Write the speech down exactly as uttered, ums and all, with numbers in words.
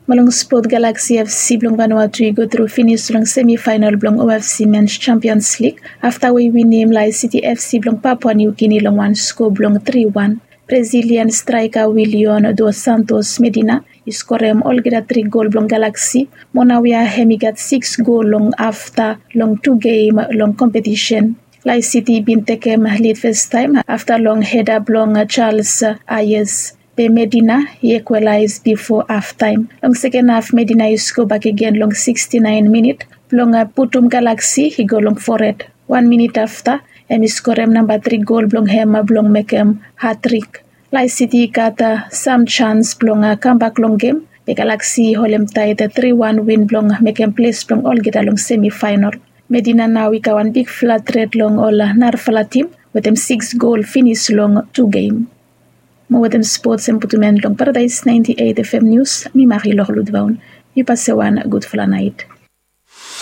Mo long spot, Galaxy FC blong Vanuatu i go tru finis long semifaenal blong OFC Men's Champions League afta we i winim Lae City FC blong Papua New Guinea long wan sko blong tri wan. Brazilian straeka Willian dos Santos Medina i skorem olgeta tri gol blong Galaxy. Mo naoia hem i gat sikis gol long afta long tu gem long kompetisen. Lae City i bin tekem lid fastaem afta long heda blong Charles Ayes. Be Medina i ekwalaes bifo haftaem. Long seken haf, Medina i sko bakegen long siksti naen minit blong putum Galaxy i go long fored. Wan minit afta, hem i skorem namba tri gol blong hem blong mekem hatrik. Lae City i gat sam jans blong kambak long gem, be Galaxy i holemtaet tri wan win blong mekem ples blong olgeta long semifaenal. Medina nao i gat wan bigfala tret long ol narafala tim wetem sikis gol finis long tu gem. Mo wetem spots hem putum en long Paradaes naenti eit FM nius, mi Marie Lorlud Vaun. Yu pase wan gudfala naet.